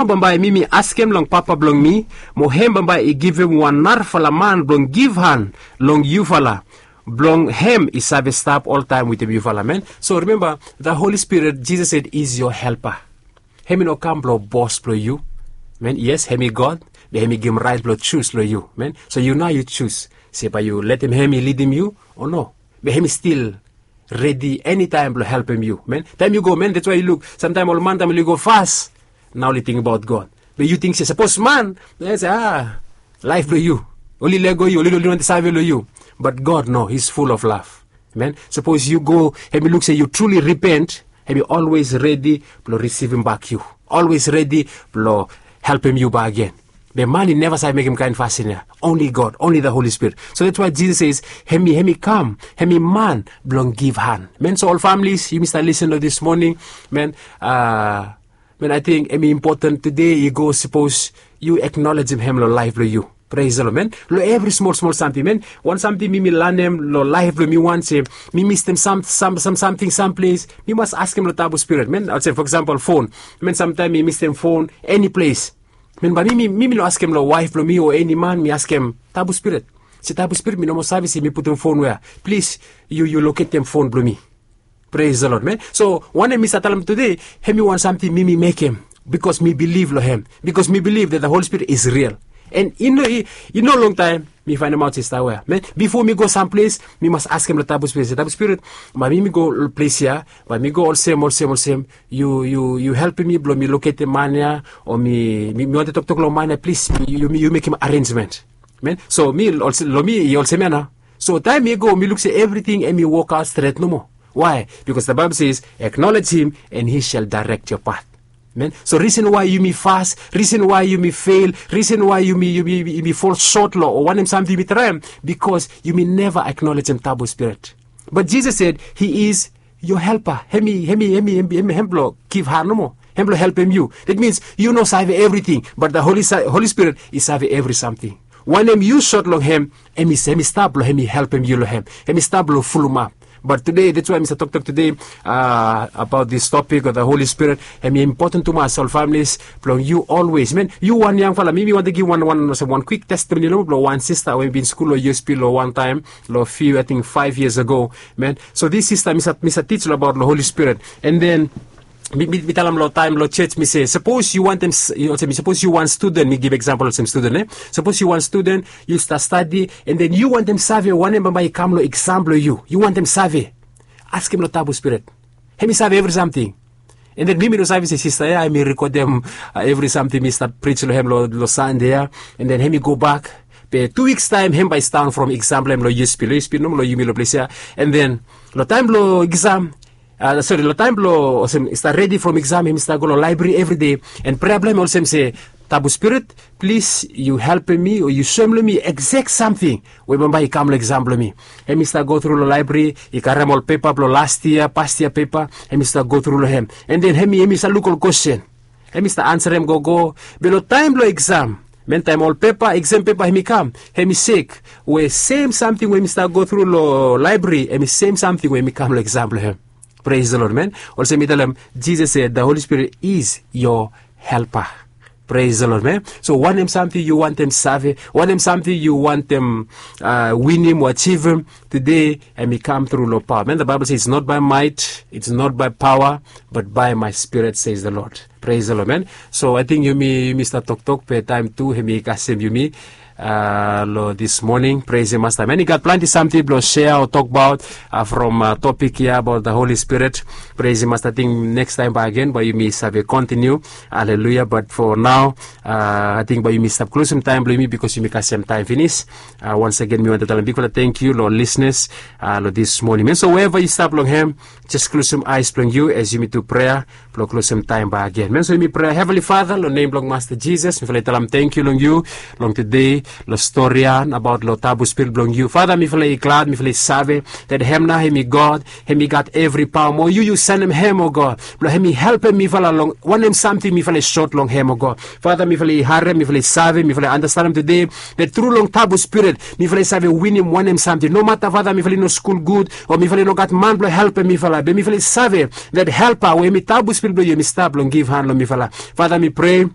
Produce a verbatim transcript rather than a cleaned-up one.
bambae mi mi askem long Papa blong mi, mo hem bambae i givim wan narafala man blong givhan long yufala, blong hem i save stap oltaem wetem yufala, men. So rimemba, the Holy Spirit, Jesus said, is your helper. Hem i no kam blong bos blong yu, men. Yes, hem i God, be hem i givim raet blong jus long yu, men. So yu nao yu jus se bae yu letem hem i lidim yu o no. Be hem i stil redi enitaem blong helpem yu, men. Taem yu go, men, dats wae yu luk samtaem ol man, taem oli go fas, nao oli tingbaot God. Be yu ting se sapos man, se a, laef blong yu, oli lego yu, oli no wantem save long yu. But God, no, he's full of love. Men, sapos yu go, hem i luk se yu truly repent, hem i olwes redi blong risivim bak yu, olwes redi blong helpem yu bakegen. Be man i neva save mekem kaen fasin ya. Only God, only the Holy Spirit. So that's why Jesus says, hem i, hem i kam, hem i man blong givhan, men. So ol families, yumi stap lisin long this morning, men, a, men, ating hem i impoten tude i go sapos yu eknolejem hem long laef blong yu. Praise the Lord, men. Long evri smol smol samting, men. Wan samting mi mi lanem long laef blong mi, wan se mi mistem sam sam sam samting samples, mi mas askem long Tabu Spirit, men. Olsem, for example, fon, men. Samtaem mi mistem fon eni ples, men, bae mi mi mi mi no askem long waef blong mi o eni man, mi askem Tabu Spirit se, Tabu Spirit, mi no moa save se mi putum fon wea. Plis, yu yu loketem fon blong mi. Praise the Lord, men. So wanem mi stap talem tude, hem i wan samting mi mi mekem bikos mi bilif long hem, bikos mi bilif that the Holy Spirit is real. And i no, i no longtaem mi faenemaot se i stap wea, men. Bifo mi go samples, mi mas askem long Tabu Spirit se, Tabu Spirit, bae mi mi go ples ya, bae mi go olsem olsem olsem. Yu yu yu helpem mi blong mi loketem man ya, o mi mi wantem toktok long man ya, plis, yu yu mekem arenjmen, men. So mi, long mi i olsem ya nao. So taem mi go, mi luk se evriting hem i wokaot stret nomo. Wae? Bikos the Bible says, acknowledge him and he shall direct your path. Men, so risen wae yumi fas, risen wae yumi fel, risen wae yumi yumi yumi fol sot long o wanem samting yumi traem, bikos yumi neva eknolejem Tabu Spirit. But Jesus said, he is your helper. Hem i hem i hem i hem i hem blong givhan nomo, hem blong helpem yu. That means yu no save evriting, but the Holy Spirit i save evri samting. Wanem yu sot long hem, hem i stap blong hem i helpem yu long hem, hem i stap blong fulumap. But tude, that's wae mi stap toktok tude abaot this topic of the Holy Spirit. Hem i impoten tumas, ol families, blong yu olwes, men. Yu wan yangfala, mi mi wantem givim wan wan olsem wan kwik testimoni long blong wan sista we mi bin skul long U S P long wan taem, long few, ating, five years ago, men. So this sista, mi stap mi stap tij long abaot long Holy Spirit. And then mi mi mi talem long taem long jos, mi se, sapos yu wantem, olsem, sapos yu wan studen, mi givim eksampol olsem studen, e, sapos yu wan studen, yu stap stadi, and then yu wantem save wanem bambae i kam long eksam blong yu, yu wantem save, askem long Tabu Spirit. Hem i save evri samting. And then mi mi no save se sista ya hem i rekodem evri samting mi stap prij long hem long Sande ya. And then hem i gobak, be tu wiks taem hem bae i sidaon from eksam blong hem long U S P, long U S P nomo, long yumi long ples ya. And then long taem blong eksam, sori, long taem blong olsem i stap redi from eksam, hem i stap go long laebri evride. And prea blong hem olsem se, Tabu Spirit, plis yu helpem mi o yu soem long mi eksek samting we bambae i kam long eksam blong mi. Hem i stap gotru long laebri, i karem ol pepa blong las yia, pas yia pepa, hem i stap gotru long hem. And then hem i hem i stap luk ol kwesten, hem i stap ansarem gogo. Be long taem blong eksam, men, taem ol pepa, eksam pepa hem i kam, hem i sek we sem samting we hem i stap gotru long laebri hem i sem samting we hem i kam long eksam blong hem. Praise the Lord, men. Olsem mi talem, Jesus said the Holy Spirit is your helper. Praise the Lord, men. So wanem samting yu wantem save, wanem samting yu wantem winim o ajivim tude, hem i kam tru long paoa, men. The Bible says, it's not by might, it's not by power, but by my Spirit, says the Lord. Praise the Lord, men. So ating yumi yumi stap toktok, be taem tu hem i kasem yumi long this morning. Praise him, Masta, men. I gat plante samting blong share o tokbaot from topik ya abaot the Holy Spirit. Praise him, Masta. Ating nekstaem bakegen bae yumi save kontiniu. Aleluya. But for now, ating bae yumi stap klosem taem blong yumi, bikos yumi kasem taem finis. Once again mi wantem talem bigfala tangkiu long ol lisenas long this morning, men. So wherever yu stap long hem, jes klosem aes blong yu as yumi tu prea blong klosem taem bakegen, men. So yumi prea. Heavenly Father, long nem blong Masta Jesus, mifala i talem tangkiu long yu long tude, long storian abaot long Tabu Spirit blong yu. Father, mifala i glad, mifala i save that hem nao hem i God, hem i gat evri paoa. Mo yu yu sendem hem, o God, blong hem i helpem mifala long wanem samting mifala i sot long hem, o God. Father, mifala i harem, mifala i save, mifala i andastanem tude that tru long Tabu Spirit mifala i save winim wanem samting. Nomata, Father, mifala i no skul gud o mifala i no gat man blong helpem mifala, be mifala i save that helpa we hem i Tabu Spirit blong yu hem i stap blong givhan long mifala. Father, mi prea